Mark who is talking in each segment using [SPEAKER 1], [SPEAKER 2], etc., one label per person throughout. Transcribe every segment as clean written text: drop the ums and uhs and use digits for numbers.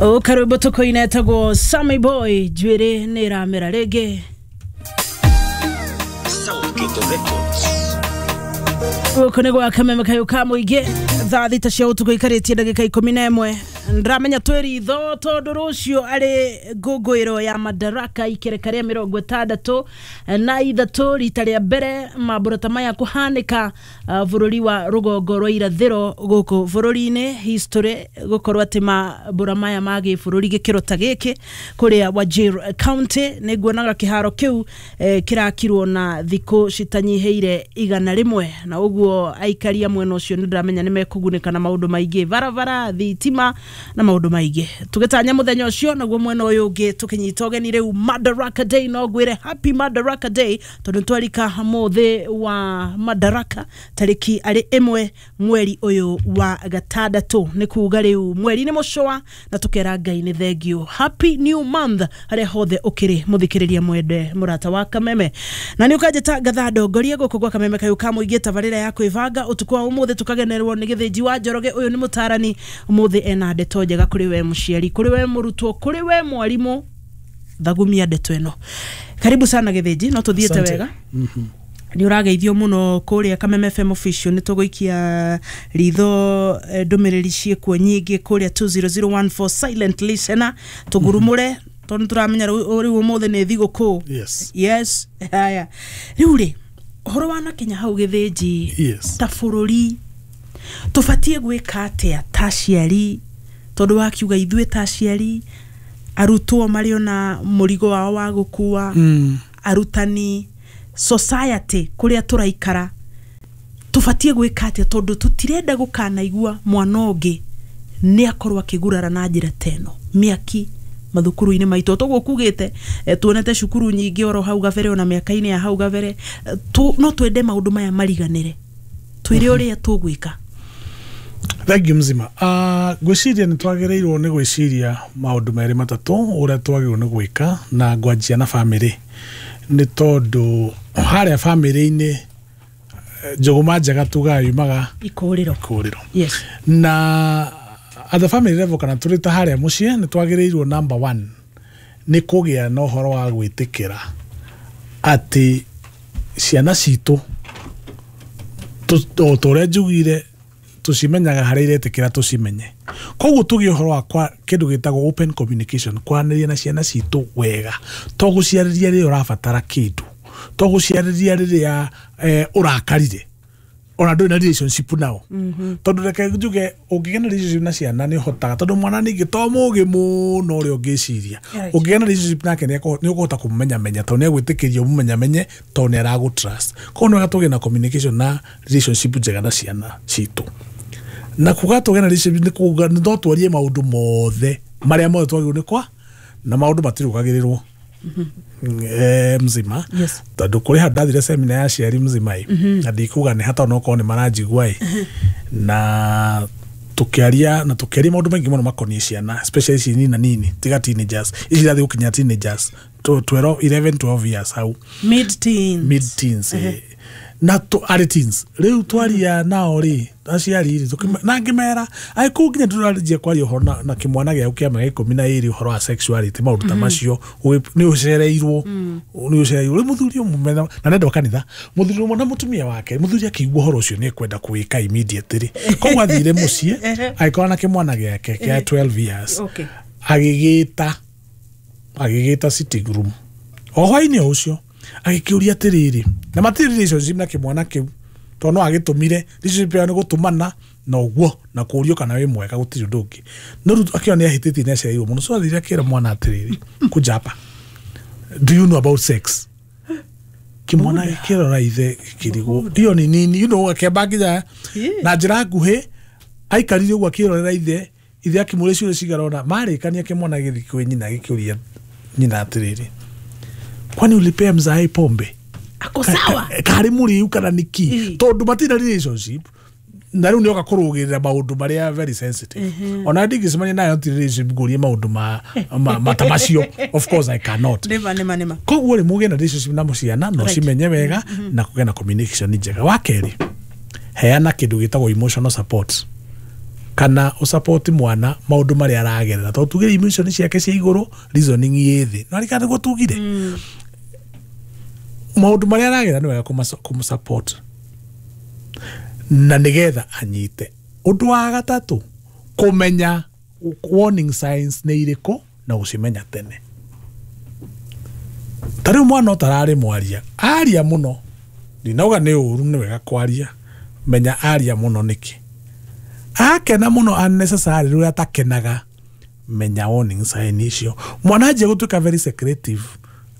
[SPEAKER 1] Karwĩmbo tũkũina etagwo Sammy Boy njuĩrĩ nĩ ĩramera rĩngĩ.
[SPEAKER 2] Southgate Records.
[SPEAKER 1] Gũkũ nĩ gwa Kameme kayũ ka mũingĩ, thaa 6 cia ũtukũ ikarĩtie ndagĩka 11. Ndĩramenya twĩ ritho tondũ rũciũ arĩ ngũngũĩro ya Madaraka ikereka rĩa 63 rita rĩa mbere mambũra ta maya kũhanĩka bũrũri wa rũgongo rwa irathĩro gũkũ bũrũri-inĩ, history gũkorwo atĩ mambũra maya ma gĩbũrũri gĩkĩro ta gĩkĩ kũrĩa Wajir County. Nĩ nguonaga kĩharo kĩu kĩrakirwo na thikũ citanyihĩire 100, na ũguo aikaria mwena ũcio nĩ ndĩramenya nĩ mekũgunĩka na maũndũ maingĩ, barabara, thitima na maũndũ maingĩ. Tũgĩtanya mũthenya ũcio, naguo mwena ũyũ ũngĩ tũkĩnyita ũgeni rĩu Madaraka Day. No ngwĩre happy Madaraka Day tondũ twarika mũthĩ wa Madaraka tarĩki arĩ 1 mweri ũyũ wa gatandatũ, nĩ kuga rĩu mweri nĩ mũcũa na tũkera Ngai nĩ thengiũ. Happy new month harĩa hothe ũkĩrĩ mũthikĩrĩria mwende mũrata wa Kameme, na nĩ ũkanjĩta ngatha ndongorie gũkũ gwa Kameme kayũ ka mũingĩ, tabarĩra ya kwĩbanga. Ũtukũ wa ũmũthĩ tũkagenerwo nĩ Gĩthĩnji wa Njoroge. Ũyũ nĩ mũtarani, ũmũthĩ ena ndeto njega kũrĩ we mũciari, kũrĩ we mũrutwo, kũrĩ we mwarimũ. Thagumia ndeto ĩno. Karibu sana Gĩthĩnji, no tũthiĩte
[SPEAKER 3] Asante.
[SPEAKER 1] wega. Nĩ ũrageithio mũno kũrĩa Kameme FM official. Nĩ tũgũikia ritho ndũmĩrĩri ciĩkuo nyingĩ kũrĩa 20014 silent listener, tũgurumũre tondũ tũramenya rĩu ũmũthĩ nĩ thigũkũ.
[SPEAKER 3] Yes.
[SPEAKER 1] Yes. Haya, rĩu rĩ, ũhoro wa Kenya hau Gĩthĩnji, ta bũrũri tũbatiĩ gwĩka atĩa ta aciari? Tondũ wakiuga ithuĩ ta aciari, arutwo marĩ ona mũrigo wao wa gũkua, arutani, society kũrĩa tũraikara, tũbatiĩ gwĩka atĩa? Tondũ tũtirenda gũkanaigua mwana ũngĩ nĩ akorwo akĩgurara na njĩra ta ĩno mĩaki mathukuru-inĩ maitũ. Toguo kugĩte tuonete cukuru nyingĩ oro hau gabere, ona mĩaka-inĩ ya hau gabere, no twende maũndũ maya mariganĩre. Twĩre ũrĩa tũgwĩka.
[SPEAKER 3] Thengiũ mzima. Ngwĩciria nĩ twagĩrĩirwo nĩ gwĩciria maũndũ merĩ matatũ ũrĩa twagĩrĩirwo nĩ gwĩka, na ngwanjia na bamĩrĩ, nĩ tondũ harĩa bamĩrĩ-inĩ njũgũma njega tugaga yumaga
[SPEAKER 1] ikũrĩro.
[SPEAKER 3] Ikũrĩro.
[SPEAKER 1] Yes.
[SPEAKER 3] Na at the family level, kana tũrĩ ta harĩa mũciĩ, nĩ twagĩrĩirwo number one nĩ kũgĩa na ũhoro wa gwĩtĩkĩra atĩ ciana citũ o ta ũrĩa njugire, tũcimenyaga harĩa iretĩkĩra tũcimenye. Koguo tũgĩe ũhoro wa kĩndũ gĩtagwo open communication, kwaranĩria na ciana citũ wega, to gũciarĩria rĩrĩa ũrabatara kĩndũ, to gũciarĩria rĩrĩa ũrakarire ona ndũrĩ na relationship nao. Tondũ reke njuge, ũngĩgĩa na relationship na ciana nĩ ũhotaga, tondũ mwana ningĩ to mũgĩ mũno ũrĩa ũngĩciria. Ũngĩgĩa na relationship nake nĩ ũkũhota kũmũmenyamenya, tondũ nĩ egwĩtĩkĩria ũmũmenyamenye, tondũ nĩ aragũ trust. Koguo nĩ wega tũgĩe na communication na relationship njega na ciana citũ. Na kuga tũgĩe na relationship nĩ kuga nĩ no twarie maũndũ mothe marĩa mothe twagĩrĩirwo nĩ kwa na maũndũ matirũgagĩrĩrwo mzima. Tondũ kũrĩ handũ ndathire semina ya aciari mzima ĩ, na ndikuga nĩ hata onokorwo nĩ maranjigua ĩ, na tũkĩaria na tũkĩaria maũndũ maingĩ mũno makoniĩ ciana, especially ici nina nini, tiga teenagers, ici irathiĩ gũkinya teenagers, 12 11 12 years hau.
[SPEAKER 1] Mid teens.
[SPEAKER 3] Mid teens, na arĩ teens rĩu twaria nao rĩ, aciari rĩ, na ngĩmera ai kũu nginya tũranjia kwaria ũhoro na kĩmwana gĩaku kĩa mĩaka 12 ũhoro wa sexuality, maũndũ ta macio, nĩ ũcereirwo, nĩ ũcereirwo. Rĩu mũthuri ũmwe na nenda wa kanitha, mũthuri ũmwe na mũtumia wake, mũthuri akĩigua ũhoro ũcio nĩ ekwenda kũwĩka immediately, koguo athire mũciĩ agĩkorwo na kĩmwana gĩake kĩa 12 years, agĩgĩta sitting room o hwainĩ o ũcio, agĩkĩũria atĩrĩrĩ, na matirĩ relationship na kĩmwana kĩu, tondũ no agĩtũmire relationship yao nĩ gũtũmana na ũguo na kũũrio kana wĩ mwega, gũtirĩ ũndũ ũngĩ. No rĩu akĩona nĩ ahĩtĩtie, nĩ acereirwo mũno, so athire akĩra mwana atĩrĩrĩ, "Kuja hapa, do you know about sex?" Kĩmwana gĩkĩrora ithe gĩkĩrigwo iyo ni nini, akĩamba nginya na njĩra nguhĩ aikarire ũguo akĩrorera ithe. Ithe akĩmũria ciũria cigana ũna. Marĩkania, kĩmwana gĩthiĩ kwĩ nyina gĩkĩũria nyina atĩrĩrĩ, "Kwani ulipea mzae pombe?"
[SPEAKER 1] Ako sawa.
[SPEAKER 3] Karĩ mũrĩu kana nĩkĩ? Tondũ matirĩ na relationship, na rĩu nĩoka kũrũgĩrĩra maũndũ marĩa very sensitive. Ona ndingĩcemania nayo ti relationship ngũrie maũndũ ma ta macio, of course I cannot.
[SPEAKER 1] Nĩma nĩma nĩma.
[SPEAKER 3] Koguo rĩ, mũgĩe na relationship na mũciana na ũcimenye wega na kũgĩa na communication njega. Wa kerĩ, heana kĩndũ gĩtagwo emotional support. Kana ũsupport mwana maũndũ marĩa aragerera tondũ tugire emotion ciake cia igũrũ reasoning ĩ thĩ no arikana nĩguo tugire maũndũ marĩa aragerera nĩ wega kũmũsupport na nĩgetha anyite. Ũndũ wa gatatũ, kũmenya warning signs nĩ irĩkũ na gũcimenya tene. Ta rĩu mwana ũtararĩ mwaria aria mũno, ndinauga nĩ ũru, nĩ wega kwaria, menya aria mũno nĩkĩ. Akena mũno unnecessary rĩrĩa atakenaga, menya warning sign icio. Mwana anjia gũtuĩka very secretive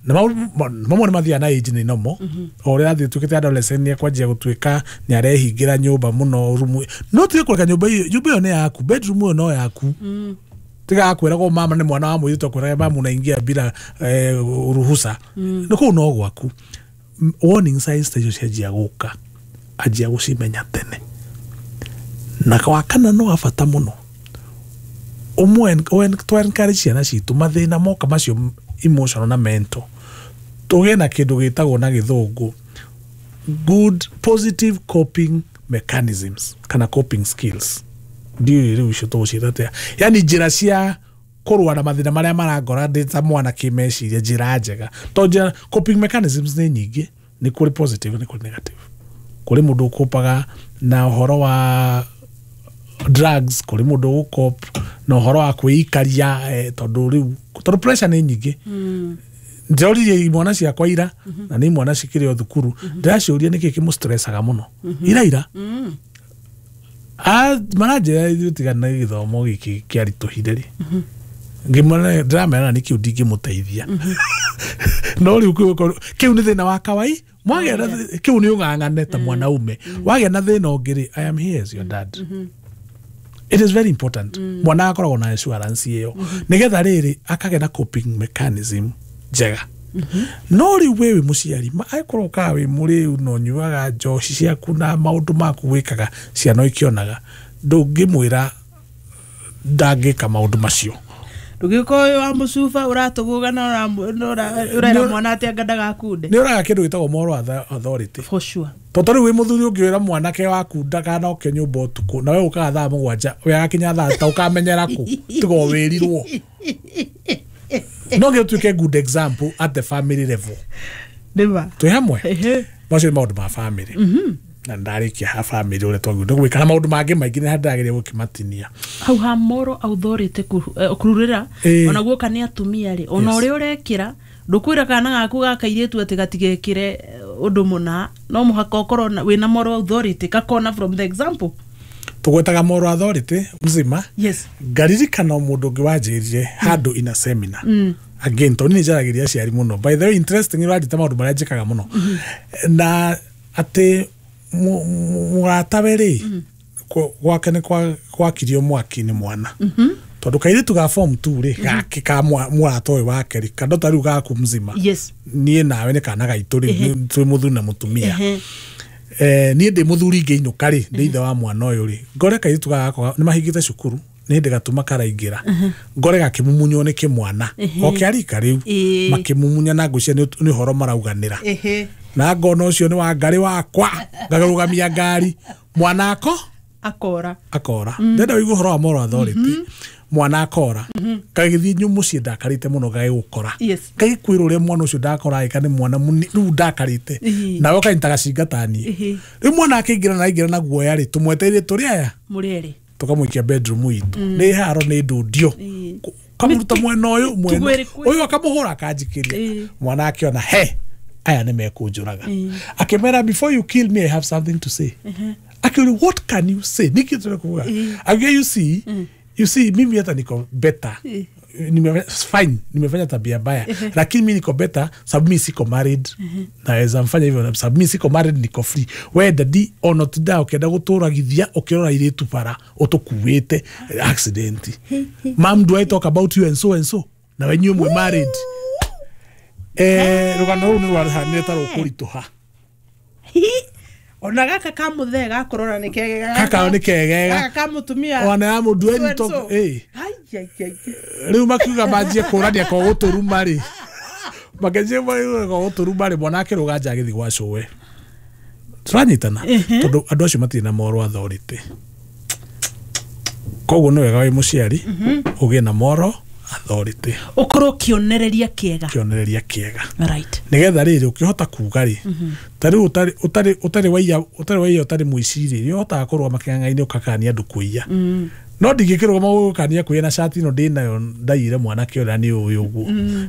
[SPEAKER 3] na mamwe nĩ mathiaga na age nĩ nomo o ũrĩa athiĩ tuĩkĩte adolescent nĩ ekwanjia gũtuĩka nĩ arehingĩra nyũmba mũno rumu, no tige kũreka nyũmba ĩyo, nyũmba ĩyo nĩ yaku, bedroom ĩyo no yaku. Tiga kwĩragwo mama nĩ mwana wa mũirĩtu akwĩraga mama unaingia bila ruhusa, nĩ kũu no gwaku. Warning signs ta icio cianjia gũka, anjia gũcimenya tene. Na wa kana no wa bata mũno, ũmwe encourage ciana citũ mathĩna moka macio emotional na mental, tũgĩe na kĩndũ gĩtagwo na gĩthũngũ good positive coping mechanisms kana coping skills. Ndiũĩ rĩu icio tũgũciĩta atĩa, yani njĩra cia kũrũa na mathĩna marĩa marangora ndĩ ta mwana kĩmeciria, njĩra njega. Tondũ njĩra coping mechanisms nĩ nyingĩ, nĩ kũrĩ positive nĩ kũrĩ negative. Kũrĩ mũndũ ũkũpaga na ũhoro wa drugs, kũrĩ mũndũ ũgũkop na ũhoro wa kwĩikaria, tondũ rĩu tondũ pressure nĩ nyingĩ. Ndĩroririe imwana ciakwa ira, na nĩ imwana cikĩrĩ o thukuru, ndĩraciũria nĩkĩ kĩmũstressaga mũno ira ira. Maranjĩra ithuĩ tiga na gĩthomo gĩkĩ kĩaritũhire rĩ, ngĩmwĩra ndĩramera nĩ kĩu ndingĩmũteithia. No rĩu kĩu nĩ thĩna wa kawai, mwagĩa na kĩu nĩ ũng'ang'ane ta mwanaume, wagĩa na thĩna ũngĩ rĩ, I am here as your dad. It is very important. Mwana akoragwo na assurance ĩyo nĩgetha rĩrĩ akagĩa na coping mechanism njega. No rĩu we wĩ mũciari, angĩkorwo ũkaga wĩ mũrĩu na ũnyuaga njohi ciaku na maũndũ maku wĩkaga ciana ikĩonaga, ndũngĩmwĩra ndangĩka maũndũ macio.
[SPEAKER 1] Ndũngĩkorwo wĩ wa mũcuba ũratũgũga na ũrera mwana atĩ anga ndagakunde.
[SPEAKER 3] Nĩ ũraga kĩndũ gĩtagwo moral authority.
[SPEAKER 1] For sure.
[SPEAKER 3] Tondũ rĩu wĩ mũthuri ũngĩwĩra mwanake waku ndakanoke nyũmba ũtukũ na we ũkaga thaa 7 we agakinya thaa 6 ũkamenyera kũ tiga wĩrirwo. No nginya ũtuĩke good example at the family level.
[SPEAKER 1] Nĩma.
[SPEAKER 3] Twĩ hamwe? Macio nĩ maũndũ ma family. Na ndarĩkia ha family ũrĩa twagĩrĩirwo nĩ gwĩka na maũndũ mangĩ maingĩ nĩ ndagĩrĩire gũkĩmatinia.
[SPEAKER 1] Hau ha moral authority kũrurĩra ona guoka nĩ atumia rĩ, ona ũrĩa ũrekĩra ndũkwĩra kana gaku ga kairĩtu atĩ gatigekĩre ũndũ mũna, no mũhaka ũkorwo wĩna moral authority kakona from the example.
[SPEAKER 3] Tũgwetaga moral authority mzima.
[SPEAKER 1] Yes.
[SPEAKER 3] Ngaririkana mũndũ ũngĩ wanjĩrire handũ in a seminar. Again, tondũ nĩ njaragĩria aciari mũno. By the way, interesting ũranjĩta maũndũ marĩa njĩkaga mũno. Na atĩ mũratawe rĩ, gwake nĩ gwakirio mwaki nĩ mwana. Tondũ kairĩtu ga form 2 rĩ, gake ka mũrata ũyũ wake rĩ, kando ta rĩu gaku mzima.
[SPEAKER 1] Yes.
[SPEAKER 3] Niĩ nawe nĩ kana gaitũ rĩ, twĩ mũthuri na mũtumia. Niĩ ndĩ mũthuri ngĩinũka rĩ, ndĩ ithe wa mwana ũyũ rĩ, ngore kairĩtu gakwa nĩ mahingĩte cukuru, nĩ hĩndĩ gatuma karaingĩra, ngore gakĩmumunywo nĩ kĩmwana o kĩarika rĩu, makĩmumunya na ngũcia nĩ ũhoro marauganĩra. Na ngona ũcio nĩ wa ngarĩ wakwa, ngarũgamia ngari, mwana ako
[SPEAKER 1] akora
[SPEAKER 3] akora. Ndenda ũigue ũhoro wa moral authority. Mwana akora gagĩthiĩ mũciĩ ndakarĩte mũno gagĩgũkora, gagĩkwĩra ũrĩa mwana ũcio ndakora agĩka nĩ mwana rĩu ndakarĩte, nawe ũkanyita gacinga ta niĩ. Rĩu mwana akĩingĩra na aingĩra na guoya rĩ, tũmwetereire tũrĩ aya
[SPEAKER 1] mũrĩ erĩ,
[SPEAKER 3] tũkamũikia bedroom itũ, nĩ haro nĩ ndundio, kamũruta mwena ũyũ mwena ũyũ akamũhũra akanjikĩria. Mwana akĩona he aya nĩ mekũnjũraga, akĩmera before you kill me I have something to say. Akĩũria what can you say, nĩkĩ tũrekuga? Akĩuga you see mimi hata niko better, fine, nimefanya tabia mbaya, lakini mimi niko better sababu mimi siko married. Naweza mfanya hivyo sababu mimi siko married, niko free. We daddy ono tinda ukienda gũtũragithia ũkĩrora irĩtu bara ũtũkuĩte accident. Mom, do I talk about you and so and so? Na we inyuĩ mwĩ married. Rũgano rũu nĩ rwahanire ta rũkũritũha.
[SPEAKER 1] Ona gaka ka mũthee gakũrora nĩ kegega,
[SPEAKER 3] gaka nĩ kegega,
[SPEAKER 1] gaka ka mũtumia
[SPEAKER 3] ona ya mũndũ eni to rĩu makiuga manjie kũrania ko gũtũruma rĩ, makenjie ko gũtũruma rĩ, mwana akĩrũga nja agĩthiĩ gwa cũwe. Tũranyitana tondũ andũ acio matirĩ na moral authority. Koguo nĩ wega wĩ mũciari ũgĩe na moral authority,
[SPEAKER 1] ũkorwo kĩonereria kĩega,
[SPEAKER 3] kĩonereria kĩega,
[SPEAKER 1] right,
[SPEAKER 3] nĩgetha rĩrĩ ũkĩhota kuga rĩ, ta rĩu ũtarĩ waiya, ũtarĩ mũiciri rĩ, ũhotaga kũrũgama kĩng'ang'a-inĩ ũkakania andũ kũiya. No ndingĩkĩrũgama gũkania kũiya na cati ĩno ndĩnayo ndaiyire mwanake ũrĩa nĩ ũĩ ũguo,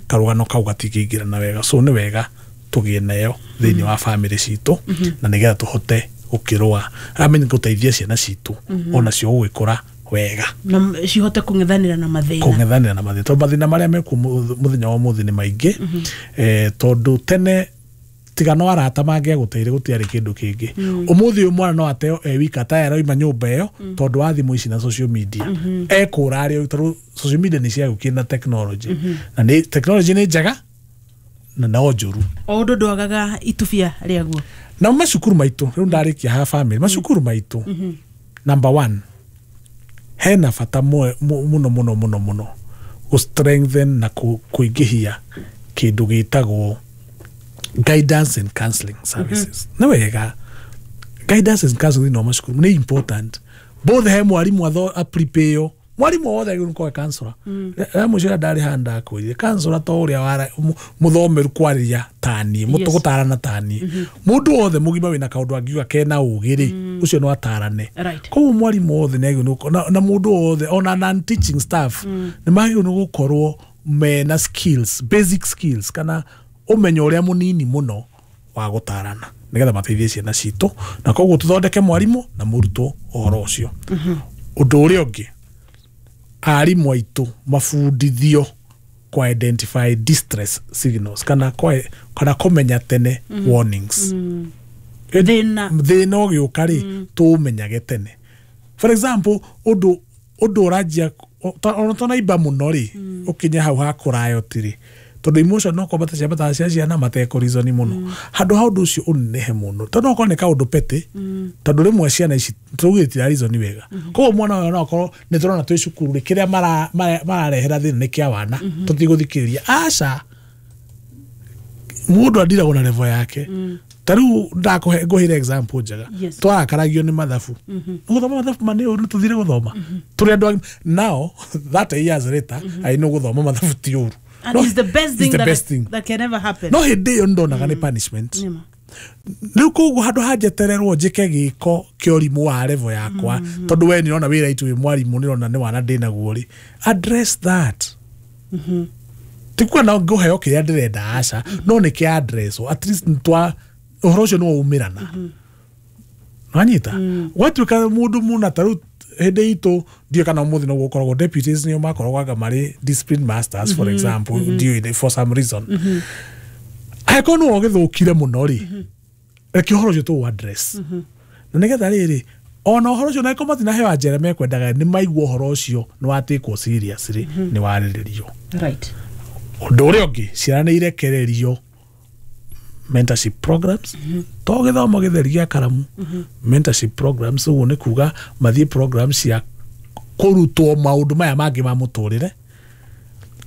[SPEAKER 3] karũgano kau gatingĩingĩrana wega. So nĩ wega tũgĩe nayo thĩinĩ wa bamĩrĩ citũ, na nĩgetha tũhote gũkĩrũa, I mean gũteithia ciana citũ onacio gũgĩkũra wega,
[SPEAKER 1] na cihote kũng'ethanĩra na mathĩna,
[SPEAKER 3] kũng'ethanĩra na mathĩna, tondũ mathĩna marĩa mekuo mũthenya wa ũmũthĩ nĩ maingĩ. Tondũ tene tiga no arata mangĩagũteire gũtiarĩ kĩndũ kĩngĩ. Ũmũthĩ ũyũ mwana no ateo e wika ta aroima nyũmba ĩyo tondũ wa thimũ ici na social media, ekũra arĩ tondũ social media nĩ ciagũkire na technology, na nĩ technology nĩ njega na no njũru.
[SPEAKER 1] O ũndũ ndwagaga itubia rĩaguo.
[SPEAKER 3] Na macukuru maitũ rĩu ndarĩkia ha family, macukuru maitũ number one hena bata mũno mũno mũno mũno gũ strengthen na kũingĩhia kĩndũ gĩtagwo guidance and counseling services. Nĩ wega guidance and counseling no macukuru nĩ important, both he mwarimu aprepare, mwarimu wothe agĩrĩirwo nĩ counselor. Rĩa mũico rĩrĩa ndarĩ haha ndakwĩrire counselor to ũrĩa mũthomeru kwarĩria taniĩ, gũtarana taniĩ, mũndũ wothe mũgima wĩna kaũndũ angiuga kena ũgĩ rĩ, ũcio no atarane. Koguo mwarimũ wothe nĩ agĩrĩirwo na mũndũ wothe ona non teaching staff nĩ magĩrĩirwo nĩ gũkorwo mena skills, basic skills, kana ũmenyo ũrĩa mũnini mũno wa gũtarana, nĩgetha mateithie ciana citũ. Na koguo tũthondeke mwarimũ na mũrutwo ũhoro ũcio. Ũndũ ũrĩa ũngĩ, arimũ aitũ mabundithio kwa identify distress signals, kana kũmenya tene warnings. Thĩna ũgĩũka rĩ, tũũmenyage tene. For example, ũndũ ũranjia ona tonaimba mũno rĩ, ũkinye hau ha kũrayoti rĩ, tondũ emotion no kwambata ciambataga cia ciana matekũrizoni mũno, handũ ha ũndũ ũcio ũnenehe mũno, tondũ no okorwo nĩ kaũndũ petty, tondũ rĩmwe ciana ici tũugire itirarizoni wega. Koguo mwana ũyũ no akorwo nĩ tũrona twĩ cukuru rĩ, kĩrĩa mararehera thĩna nĩ kĩa wana, tũtigũthikĩrĩria. Aca, mũndũ andiragwo na level yake. Ta rĩu ngũheire example njega, twarakaragio nĩ mathabu, gũthoma mathabu ma nĩ ũru, tũthire gũthoma tũrĩ andũ agima. Now 30 years later, I know gũthoma mathabu ti ũru.
[SPEAKER 1] And it's the best thing, that can ever happen.
[SPEAKER 3] No hĩndĩ ĩyo ndonaga nĩ punishment. Rĩu koguo handũ ha njetererwo njĩke gĩko kĩa ũrimũ wa level yakwa, tondũ we nĩrona wĩra itu wĩ mwarimũ nĩrona nĩ wana ndĩnaguo rĩ, address that. Ti kuga no ngũheo kĩrĩa ndĩrenda, aca, no nĩ kĩa address, at least twa ũhoro ũcio nĩ waumĩrana. Wanyita? Gwatuĩka mũndũ mũna ta rĩu hĩndĩ itũ ndiũĩ kana ũmũthĩ noguo ũkoragwo, deputies nĩo makoragwo anga marĩ discipline masters, for example, ndiũĩ for some reason. Angĩkorwo nĩwe ũgĩthũkire mũno rĩ, reke ũhoro ũcio tũũ address. Na nĩgetha rĩrĩ, ona ũhoro ũcio na angĩkorwo matinaheo njĩra mekwendaga, nĩ maigua ũhoro ũcio nĩ watĩkwo serious rĩ, nĩ warĩrĩrio.
[SPEAKER 1] Right.
[SPEAKER 3] Ũndũ ũrĩa ũngĩ, ciana nĩ irekererio mentorship programs, to gĩthomo gĩtheri gĩa karamu, mentorship programs, ũguo nĩ kuga mathiĩ programs cia kũrutwo maũndũ maya mangĩ ma mũtũrĩre,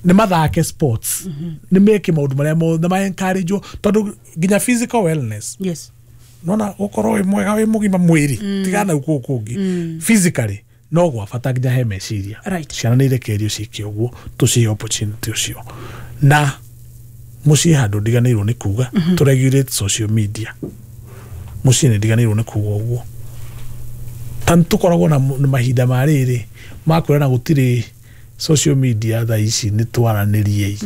[SPEAKER 3] nĩ mathake sports, nĩ meke maũndũ marĩa mothe, nĩ ma-encourage-wo, tondũ nginya physical wellness,
[SPEAKER 1] yes,
[SPEAKER 3] nona gũkorwo wĩ mwega wĩ mũgima mwĩrĩ, tigana kũu kũngĩ, physically no gwa bata nginya he meciria. Ciana nĩ irekererio ciĩke ũguo, tũcihe opportunity ũcio. Na mũciĩ handũ ndiganĩirwo nĩ kuga, tũ regulate social media. Mũciĩ nĩ ndiganĩirwo nĩ kuga ũguo. Ta tũkoragwo na mahinda ma rĩrĩ ma kwĩrana gũtirĩ social media thaa ici, nĩ twaranĩriei.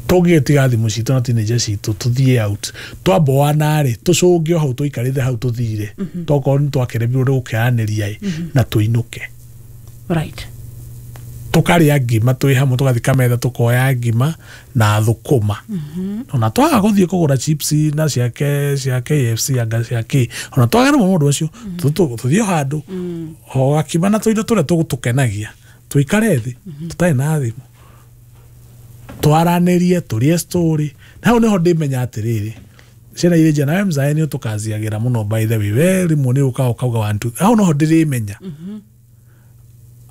[SPEAKER 3] Tũngĩtiga thimũ citũ na teenager citũ tũthiĩ out, twamboana rĩ, tũcũnge o hau tũikarĩte hau tũthire, tokorwo nĩ twakeremirwo nĩ gũkĩaranĩria na tũinũke.
[SPEAKER 1] Right.
[SPEAKER 3] Tũkarĩa ngima twĩ hamwe, tũgathiĩ kametha tũkoya ngima na thũkũma. Ona twaga gũthiĩ kũgũra chips na cia KFC anga cia kĩ, ona twaga rĩmwe mũndũ ũcio, tũthiĩ o handũ o gakima na tũindo tũrĩa tũgũtũkenagia, tũikare thĩ tũtarĩ na thimũ, twaranĩrie, tũrie story. Na hau nĩho ndĩmenya atĩrĩrĩ, ciana irĩ njega, nawe mzae nĩ ũtũkaziagĩra mũno, by the way, we rĩmwe nĩ ũkaga ũkauga one two, hau noho ndĩrĩmenya.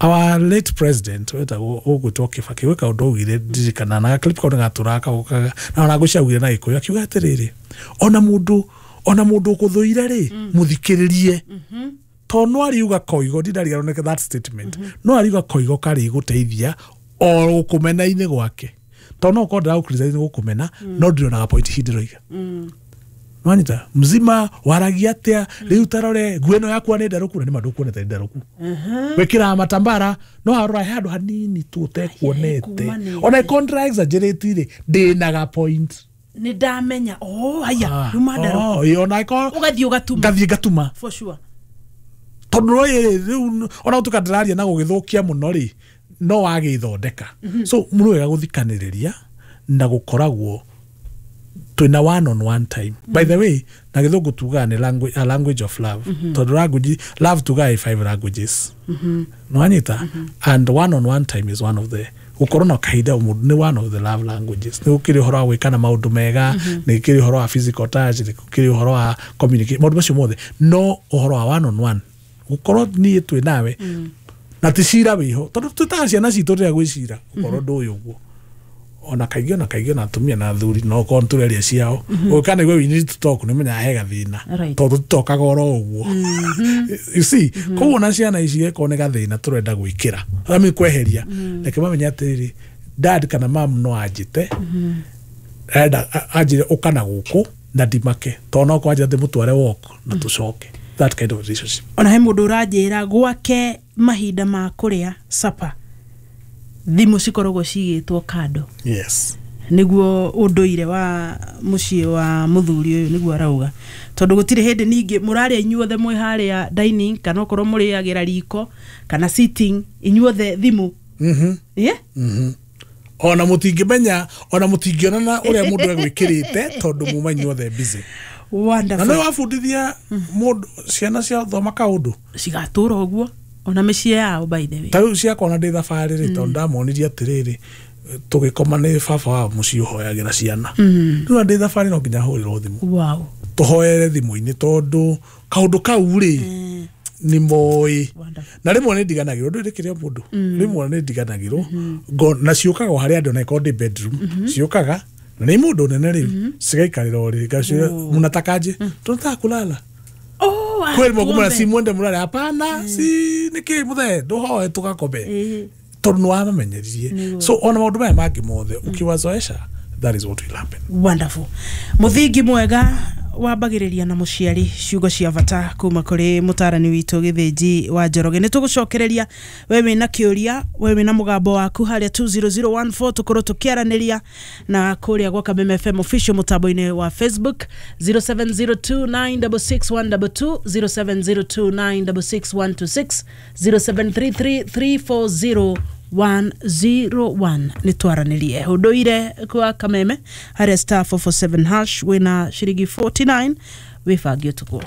[SPEAKER 3] Our late president wetagwo ũgwĩtwo Kibaki, gwĩ kaũndũ augire ndirikana, na clip kau nĩgatũraga kaũkaga, na ona ngũci augire na Gĩkũyũ, akiuga atĩrĩrĩ, ona mũndũ ũkũthũire rĩ, mũthikĩrĩrie. To no ariuga koigo ndindariganwo nĩ that statement. No ariuga koigo karĩ gũteithia o gũkũmena-inĩ gwake. To no ũkorwo ndĩragũ criticize nĩ gũkũmena, no ndĩronaga point ici ndĩroiga. Nwanyita mzima waragia atia riu tarore nguo ĩno yakwa nĩ ndarũku na nĩ ma ndũkuonete nĩ ndarũku. Wĩkĩraga matambara no harora he handũ hanini tu ũtekuonete.
[SPEAKER 1] Kumanĩte.
[SPEAKER 3] Ona ĩkorwo exaggerate rĩ ndĩnaga point.
[SPEAKER 1] Nĩ ndamenya oh haya yuma ndarũku.
[SPEAKER 3] Oh, ĩ, ona ĩkorwo
[SPEAKER 1] Ũgathiĩ ũgatuma.
[SPEAKER 3] Ngathiĩ ngatuma.
[SPEAKER 1] For sure.
[SPEAKER 3] Tondũ no ĩ rĩu ona gũtuĩka ndĩraria na gũgĩthũkia mũno rĩ no wagĩthondeka. So nĩ wega gũthikanĩrĩria na gũkoragwo twĩna one on one time. By the way, na gĩthũngũ tugaga nĩ language, a language of love. Tondũ language, love tugaga ĩ five languages. Nĩwanyita? And one on one time is one of the gũkorwo na kahinda mũndũ nĩ one of the love languages. Nĩ gũkĩrĩ ũhoro wa gwĩkana maũndũ mega, nĩ gũkĩrĩ ũhoro wa physical touch, nĩ gũkĩrĩ ũhoro wa communicate, maũndũ macio mothe. No ũhoro wa one on one gũkorwo niĩ twĩ nawe na ti cira wĩho tondũ twĩtaga ciana citũ rĩrĩa gwĩ cira gũkorwo ndũĩ ũguo ona kaingĩ ona kaingĩ ona atumia na athuri no korwo nĩtũreria ciao ũgĩka nĩguo we need to talk nĩmenyaga he gathĩna. Tondũ tũtokaga oro ũguo, you see. Koguo ona ciana ici gĩkorwo nĩ gathĩna tũrenda gwĩkĩra, I mean kweheria, reke mamenye atĩrĩrĩ, dad kana mam no anjĩte arenda anjĩre ũka na gũkũ na ndimake tondũ no kwanjĩra ndĩmũtware walk na tũcoke, that kind of relationship.
[SPEAKER 1] Ona he mũndũ ũranjĩra gwake mahinda ma kũrĩa supper thimũ cikoragwo cigĩtwo kando. Nĩguo ũndũire wa mũciĩ wa mũthuri ũyũ nĩguo arauga tondũ gũtirĩ hĩndĩ ningĩ mũrarĩa inyuothe mwĩ harĩa dining kana okorwo mũrĩagĩra riko kana sitting inyuothe thimũ. Yeah?
[SPEAKER 3] Ona mũtingĩmenya ona mũtingĩonana ũrĩa mũndũ egwĩkĩrĩte tondũ muma inyuothe busy. Na
[SPEAKER 1] Wonderful.
[SPEAKER 3] nĩ wabundithia mũndũ ciana cia thoma kaũndũ
[SPEAKER 1] cigatũra ũguo ona mĩciĩ yao, by the way.
[SPEAKER 3] Ta rĩu ciakwa ona ndĩ thabarĩ rĩ tondũ ndamonirie atĩrĩrĩ tũgĩkoma nĩ baba wa mũciĩ ũhoyagĩra ciana rĩu ona ndĩ thabarĩ no nginya hũrĩrwo thimũ tũhoere thimũ-inĩ tondũ kaũndũ kau rĩ nĩ moĩ.
[SPEAKER 1] Wonderful.
[SPEAKER 3] Na rĩmwe nĩ ndiganagĩrwo ndũĩ rĩkĩrĩ o mũndũ rĩmwe nĩ ndiganagĩrwo na ciũkaga o harĩa andũ na ĩkorwo ndĩ bedroom ciũkaga na nĩ mũndũ nene rĩu cigaikarĩra ũrĩrĩ ngaciũria mnatakaje tunataka kulala.
[SPEAKER 1] Oh, ah,
[SPEAKER 3] kweli mwakumana
[SPEAKER 1] tuombe.
[SPEAKER 3] Si mwende mulale hapana si nĩkĩ mũthee ndũhoe tũgakome tondũ nĩ wamamenyeririe. So ona maũndũ maya mangĩ mothe ũkiwazoesha, that is what will happen.
[SPEAKER 1] Wonderful. Mũthingi mwega wambagĩrĩria na mũciari. Ciugo cia bata kuma kũrĩ mũtarani witũ Gĩthĩnji wa Njoroge. Nĩ tũgũcokereria we wĩna kĩũria, we wĩna mũgambo waku harĩa 20014 tũkorwo tũkĩaranĩria na kũrĩa gwa Kameme FM official mũtambo-inĩ wa Facebook 0702966122, 0702966126, 0733 101. Nĩ twaranĩrie ũndũire kwa Kameme harĩa *447# wĩna ciringi 49 wĩbange ũtukũ.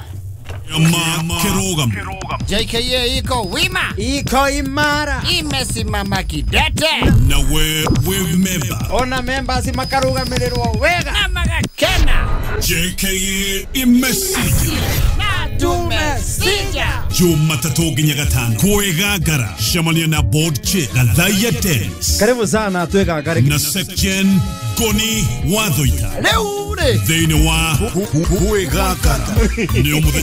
[SPEAKER 2] Kirugam.
[SPEAKER 4] JKA iko wima,
[SPEAKER 5] iko imara,
[SPEAKER 4] imesimama kidete.
[SPEAKER 2] Na we we member.
[SPEAKER 5] Ona members makarugamirĩrwo wega
[SPEAKER 4] na magakena.
[SPEAKER 2] JKA imesija.
[SPEAKER 4] Na tumesija.
[SPEAKER 2] Jumatatu nginya gatano kwĩgangara cemania na board chair Gathaiya Dennis
[SPEAKER 5] Karibu sana twĩgangare
[SPEAKER 2] na Sekjen Goni Wathoita
[SPEAKER 4] Rĩu rĩ
[SPEAKER 2] thĩinĩ wa kwĩgangara nĩ mũthenya.